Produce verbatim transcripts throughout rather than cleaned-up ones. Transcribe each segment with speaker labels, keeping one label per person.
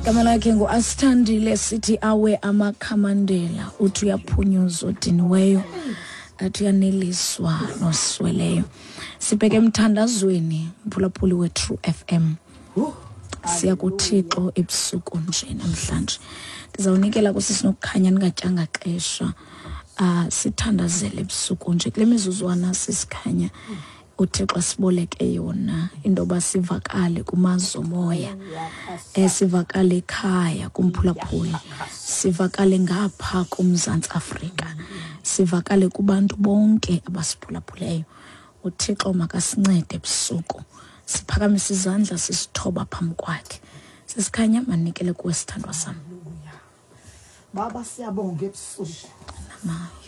Speaker 1: Igama lakhe nguAsithandile, sithi awe amakhamandela, uthi uyaphunyuzwa odiniweyo, athi uyaneliswa nosweleyo. Sibheke emthandazweni, mphulaphuli we-True F M. Siya kuThixo ebusuku nje namhlanje. Ndizawunikela kusisi Nokukhanya ningatyanga xesha. Uh, sithandazele ebusuku nje kule mizuzwana sisikhanya uThixo asiboleke yona into yoba sivakale kumazwe omoya, eh, sivakale ekhaya kumphulaphuli, sivakale ngapha kuMzantsi Afrika, sivakale kubantu bonke abasiphulaphuleyo. uThixo makasincede ebusuku, siphakamise izandla sisithoba phambi kwakhe. Sisikhanya, manikele kuwe sithandwa sam.
Speaker 2: Baba, siyabonga ebusuku.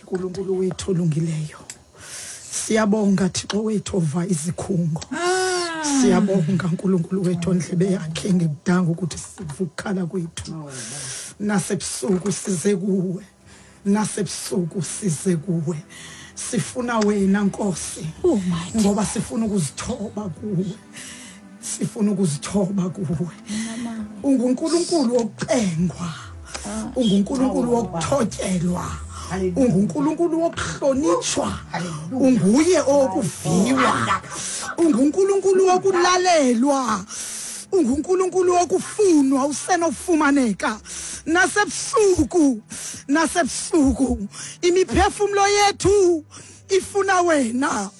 Speaker 2: uNkulunkulu wethu olungileyo, siyabonga Thixo wethu ova izikhungo. Siyabonga uNkulunkulu wethu ondlebe yakhe ngekudanga ukuthi sivukhala kwethu. Nasebusuku size kuwe, nasebusuku size kuwe. Sifuna wena Nkosi, ngoba sifuna ukuzithoba kuwe, sifuna ukuzithoba kuwe. UnguNkulunkulu wokucengwa, unguNkulunkulu wokuthotyelwa, unguNkulunkulu wokuhlonitshwa, unguye owokuviwa, unguNkulunkulu wokulalelwa, unguNkulunkulu wokufunwa usenofumaneka. Nasebusuku, nasebusuku imiphefumulo yethu ifuna wena.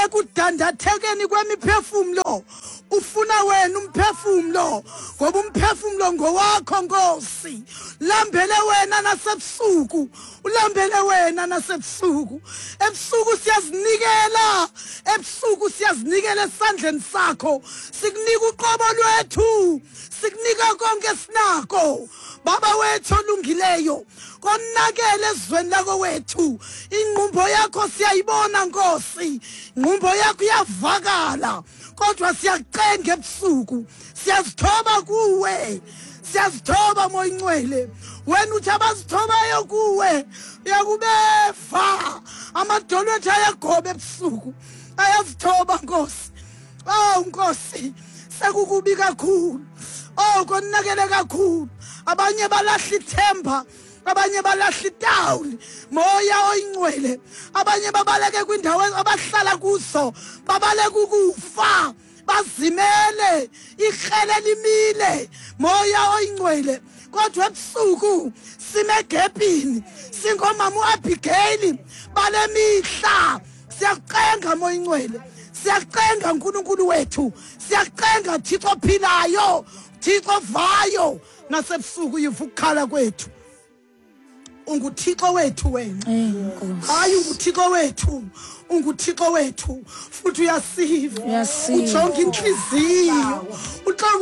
Speaker 2: Ekudandathekeni kwemiphefumulo ufuna wena umphefumulo, ngoba umphefumulo ngowakho Nkosi. Lambele wena nasebusuku, ulambele wena nasebusuku. Ebusuku siyazinikela, ebusuku siyazinikela esandleni sakho. Sikunika uqobo lwethu, sikunika konke sinako. Baba wethu olungileyo, konakele ezweni lako wethu. Ingqumbo yakho siyayibona Nkosi, ingqumbo yakho iyavakala, kodwa siyakucenga ebusuku, siyazithoba kuwe, siyazithoba Moya Ingcwele. Wena uthi abazithobayo kuwe uyakubeva. Amadolo ethu ayagoba ebusuku, ayazithoba Nkosi. Oh Nkosi, sekukubi kakhulu, oh konakele kakhulu. Abanye balahla ithemba, abanye balahla itawuli. Moya oyingcwele, abanye babaleke kwindawo abahlala kuzo, babaleke ukufa, bazimele, ikrele limile. Moya oyingcwele, kodwa ebusuku simegepini, singomama uAbigail balemihla. Siyakucenga Moya Ingcwele, siyakucenga uNkulunkulu wethu, siyakucenga Thixo ophilayo, Thixo ovayo. Nasebusuku yiva ukukhala kwethu. UnguThixo wethu wena, hayi unguThixo wethu, unguThixo wethu futhi uyasiva. Ujonga inhliziyo,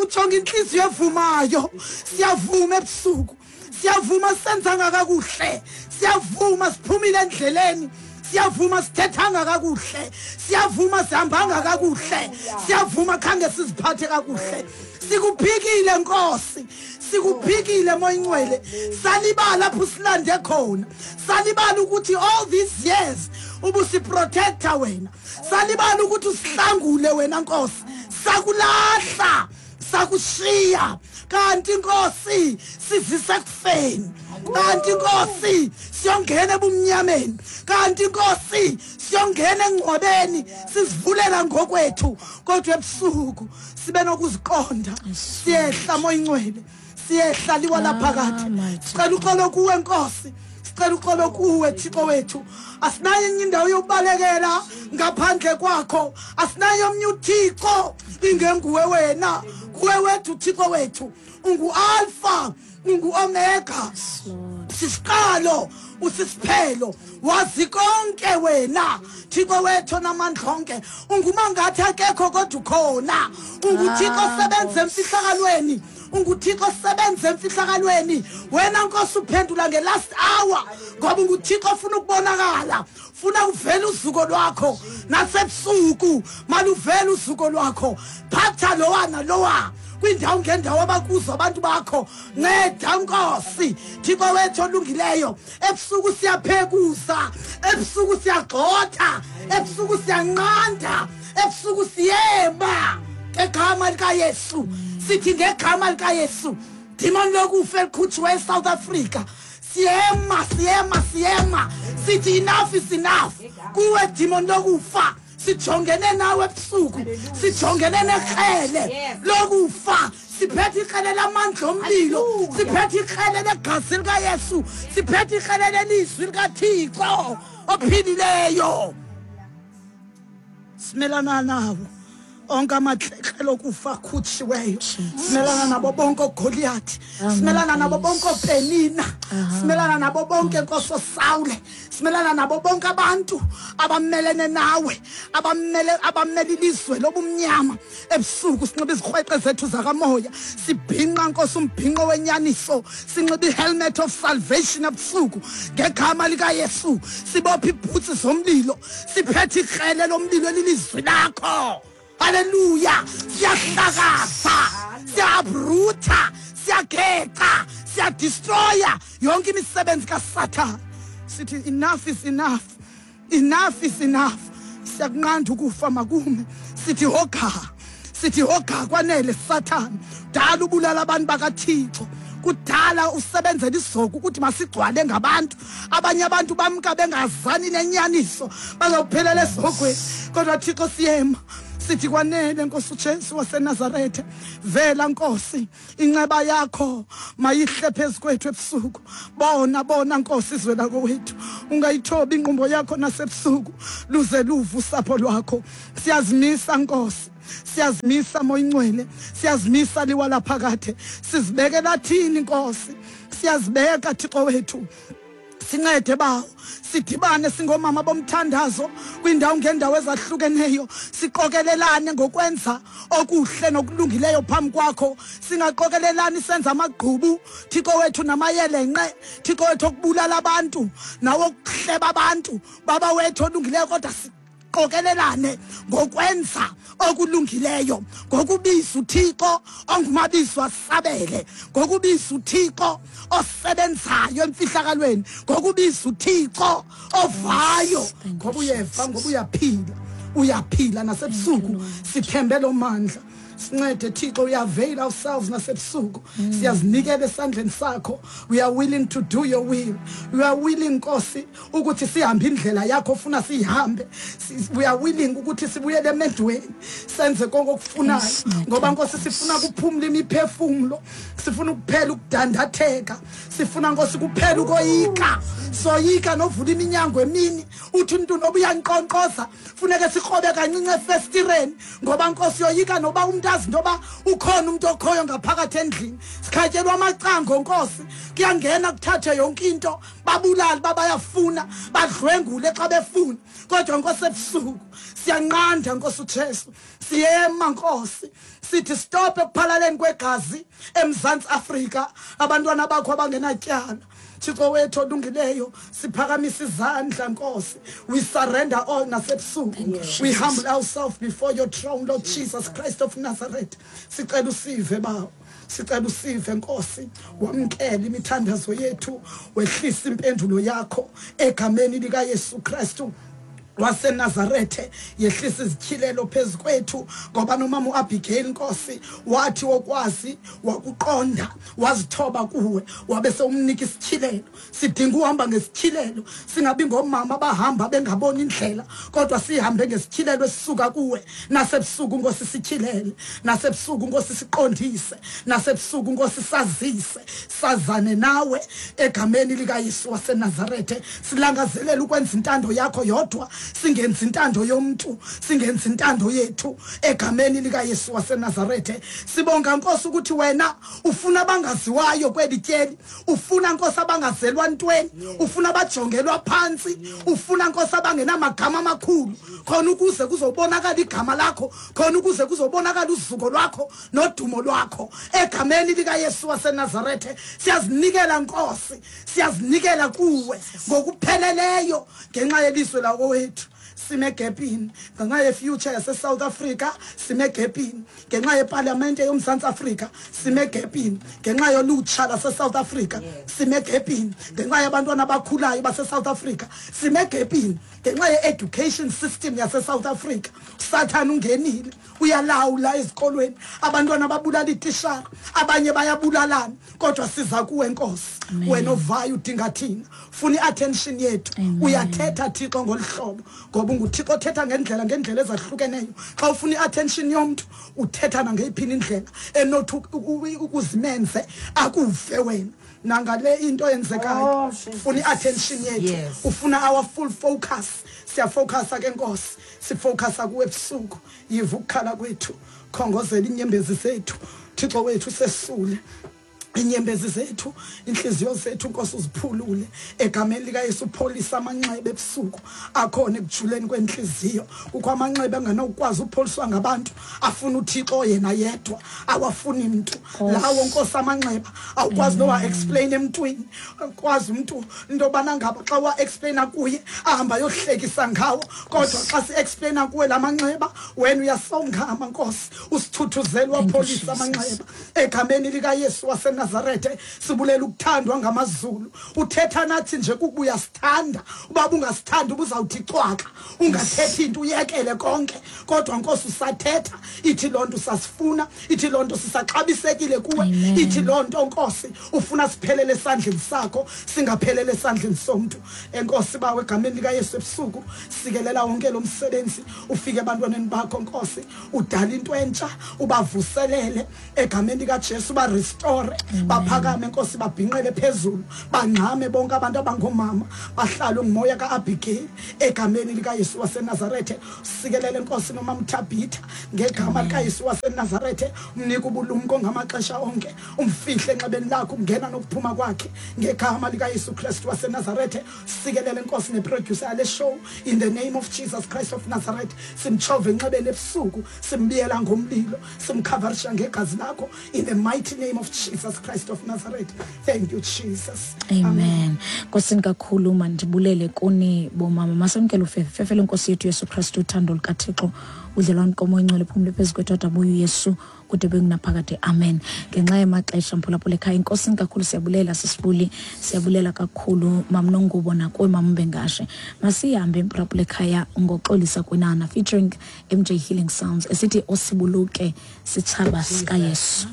Speaker 2: ujonga inhliziyo evumayo. Siyavuma ebusuku, siyavuma senzanga kakuhle, siyavuma siphumile endleleni, siyavuma sithethanga kakuhle, siyavuma sihambanga kakuhle, siyavuma khange siziphathe kakuhle. Sikuphikile Nkosi, sikuphikile Moya Ingcwele. Salibala lapho silande khona, salibala ukuthi all these years ubusiprotector wena, salibala ukuthi usihlangule wena Nkosi. Sakulahla, sakushiya, kanti Nkosi sizise kufeni, kanti Nkosi siyongena ebumnyameni, kanti Nkosi siyongena engcwabeni, sizivulela ngokwethu. Kodwa ebusuku sibe nokuziqonda, siyehla Moya Ingcwele, siyehla liwa laphakathi. Sicela uxolo kuwe Nkosi, sicela uxolo kuwe Thixo wethu. Asinayo enye indawo yokubalekela ngaphandle kwakho, asinayo omnye uThixo ingenguwe wena. Kuwe wethu Thixo wethu, ungu-Alpha, ungu-Omega, sisiqalo usisiphelo, wazi konke wena Thixo wethu namandla onke. Ungumangathi akekho kodwa ukhona, unguThixo osebenza emfihlakalweni, unguThixo osebenza emfihlakalweni. Wena Nkosi uphendula nge-last hour, ngoba unguThixo ofuna ukubonakala, funa uvele uzuko lwakho. Nasebusuku maluvele uzuko lwakho. Phatha lowa nalowa kwindawo ngendawo abakuzo abantu bakho. Nceda Nkosi Thixo wethu olungileyo. Ebusuku siyaphekuza, ebusuku siyagxotha, ebusuku siyanqanda, ebusuku siyema ngegama likaYesu. Sithi ngegama likaYesu Demon lokufa elikhutshwe eSouth Africa, siyema siyema siyema, sithi enough is enough. Kuwe demon lokufa, sijongene nawe ebusuku, sijongene nekrele lokufa, siphethe ikrele lamandla omlilo, siphethe ikrele legazi likaYesu, siphethe ikrele lelizwi likaThixo ophilileyo. Simelana nawo onke amakrele okufa akhutshiweyo, simelana nabo bonke oGoliath, simelana nabo bonke oPenina, simelana nabo bonke Nkosi oSawule, simelana nabo bonke abantu abamelene nawe, abamele abamele ilizwe lobumnyama. Ebusuku sinxiba izikrweqe zethu zakamoya, sibhinqa Nkosi umbhinqo wenyaniso, sinxiba ihelmet of salvation ebusuku ngegama likaYesu, sibophe ibhutsi zomlilo, siphethe ikrele lomlilo elilizwi lakho. Hallelujah. Siyahlakaza, siyabruta, siyageqa, siyadestroya yonke imisebenzi kaSathane. Sithi enough is enough, enough is enough. Siyakunqanda ukufa makume. Sithi hoga, sithi hoga kwanele Sathane. Dala ubulala abantu bakaThixo, kudala usebenzela isizoko ukuthi masigcwale ngabantu. Abanye abantu bamka bengazani nenyaniso, bazophelela esihogweni. Kodwa Thixo siyema, sithi kwanele Nkosi uJesu waseNazaretha, vela Nkosi, inceba yakho mayihle phezu kwethu ebusuku. Bona bona Nkosi izwe lakowethu, ungayithobi ingqumbo yakho nasebusuku, luze luvu usapho lwakho. Siyazimisa Nkosi, siyazimisa Moya Ingcwele, siyazimisa liwa laphakade, sizibekela thini Nkosi, siyazibeka Thixo wethu. Sincede bawo, sidibane singomama bomthandazo kwindawo ngendawo ezahlukeneyo, siqokelelane ngokwenza okuhle nokulungileyo phambi kwakho. Singaqokelelani senza amagqubu Thixo wethu namayelenqe, Thixo wethu okubulala abantu nawo okuhleba abantu, Baba wethu olungileyo, kodwa siqokelelane ngokwenza okulungileyo, ngokubiza uThixo ongumabizo asabele, ngokubiza uThixo osebenzayo emfihlakalweni, ngokubiza uThixo ovayo, ngoba uyeva, ngoba uyaphila, uyaphila nasebusuku. Sithembe lo mandla, sincede Thixo. We avail ourselves nasebusuku, siyazinikela esandleni sakho. We are willing to do your will, we are willing Nkosi ukuthi sihambe indlela yakho ofuna sihambe. We are willing ukuthi sibuyele emendweni, senze konke okufunayo, ngoba Nkosi sifuna ukuphumula imiphefumulo, sifuna ukuphela ukudandatheka, sifuna Nkosi kuphela ukoyika. Soyika novula iminyango emini, uthi umuntu noba uyanqonqoza funeke sikrobe kancinci efestireni, ngoba Nkosi yoyika noba umuntu azi ntoba ukhona umuntu okhoyo ngaphakathi endlini. Sikhatyelwa amacango Nkosi, kuyangena kuthathwe yonke into, babulali babayafuna, badlwengule xa befuna. Kodwa Nkosi ebusuku siyanqanda Nkosi uJesu, siyema Nkosi, sithi stop ekuphalaleni kwegazi eMzantsi Afrika, abantwana bakho abangenatyala. Thixo wethu olungileyo, siphakamisa izandla Nkosi. We surrender all nasebusuku, we humble ourselves before your throne, Lord Jesus Christ of Nazareth. Sicela usive bawo, sicela usive Nkosi, wamkele imithandazo yethu, wehlisa impendulo yakho egameni likaYesu Kristu waseNazarethe. Yehlisa izityhilelo phezu kwethu, ngoba nomama uAbigail Nkosi wathi wokwazi wakuqonda wazithoba kuwe, wabe sewumnika isityhilelo. Sidinga uhamba ngesityhilelo, singabi ngomama abahamba bengaboni indlela, kodwa sihambe ngesityhilelo esisuka kuwe. Nasebusuku Nkosi sityhilele, nasebusuku Nkosi siqondise, nasebusuku Nkosi sazise, sazane nawe egameni likaYesu waseNazarethe. Silangazelela ukwenza intando yakho yodwa, singenzi intando yomuntu, singenzi intando yethu egameni likaYesu waseNazarethe. Sibonga Nkosi ukuthi wena ufuna abangaziwayo kweli tyeli, ufuna Nkosi abangazelwa ntweni, ufuna abajongelwa phansi, ufuna Nkosi abangenamagama amakhulu, khona ukuze kuzobonakala igama lakho, khona ukuze kuzobonakala uzuko lwakho nodumo lwakho egameni likaYesu waseNazarethe. Siyazinikela Nkosi, siyazinikela kuwe ngokupheleleyo ngenxa yelizwe lakowethu. sime gapini, ngenxa yefuture yase-South Africa sime gapini, ngenxa yepalamente yoMzantsi Afrika sime gapini, ngenxa yolutsha lase-South Africa sime gapini, ngenxa yabantwana abakhulayo base-South Africa sime gapini, ngenxa ye-education system yase-South Africa. Sathana ungenile, uyalawula ezikolweni, abantwana babulala iitishara, abanye bayabulalana, kodwa siza kuwe Nkosi. Wena ovayo udinga thina, funa i-attention yethu. Uyathetha Thixo ngolu hlobo, ngoba unguThixo othetha ngendlela ngendlela ezahlukeneyo. Xa ufuna i-attention yomntu uthetha nangeyiphini indlela enothi ukuzimenze akuve wena. Nangale into yenzekayo, ufuna i-attention yethu, ufuna our full focus. Siyafocusa ke Nkosi, sifocusa kuwe ebusuku. Yiva ukukhala kwethu, khongozela inyembezi zethu Thixo wethu, sesule inyembezi zethu, inhliziyo zethu Nkosi uziphulule egameni likaYesu. Upholisa amanxeba ebusuku akhona ekujuleni kwenhliziyo. Kukho amanxeba anganokwazi upholiswa ngabantu, afuna uThixo yena yedwa, awafuni mntu. Lawo Nkosi amanxeba awukwazi nowa explain emntwini, ukwazi umuntu into yobana ngaba xa wa explaina kuye ahamba yohlekisa ngawo, kodwa xa si explaina kuwe lamanxeba wena uyasongama Nkosi, usithuthuzela wapholisa amanxeba egameni likaYesu wase Nazarethe. Sibulela ukuthandwa ngamazulu. Uthetha nathi nje kukubuya sithanda, ubaba ungasithanda ubuzawuthi cwaka, ungathethi into uyekele konke, kodwa Nkosi usathetha. Ithi lonto usasifuna, ithi lonto sisaxabisekile kuwe, ithi lonto Nkosi ufuna siphelele esandleni sakho, singaphelele esandleni somntu. Enkosi bawe egameni likaYesu ebusuku, sikelela wonke lo msebenzi ufike ebantwaneni bakho Nkosi, udala into entsha, ubavuselele egameni likaJesu, ba restore, baphakame Nkosi, babhinqele phezulu, bangxame bonke abantu abangomama, bahlalwe ngumoya kaAbigail egameni likaYesu waseNazarethe. Sikelele Nkosi noma Mthabitha ngegama likaYesu waseNazarethe, umnike ubulumko ngamaxesha onke, umfihle enxebeni lakho ungena nokuphuma kwakhe ngegama likaYesu Kristu waseNazarethe. Sikelele Nkosi neproducer yale show in the name of Jesus Christ of Nazareth. Simchove enxebeni ebusuku, simbiyela ngomlilo, simcoverisha ngegazi lakho in the mighty name of Jesus Christ of Nazareth. Thank you Jesus.
Speaker 1: Amen. Nkosini kakhulu, mandibulele kuni bomama. Masamkele ufefe fefele Nkosi yethu Yesu Kristu, uthando lukaThixo, udlelwano komoya ingcwele phumle phezu kwethu adabuye uYesu kude bengunaphakade. Amen. Ngenxa yamaxesha mphulaphula ekhaya, inkosini kakhulu siyabulela sisibuli, siyabulela kakhulu mamnongubo nakuwe mambengashe. Masihambe mphulaphula ekhaya ngoxolisa kwinana featuring M J Healing Sounds esithi osibuluke sitshaba sikaYesu.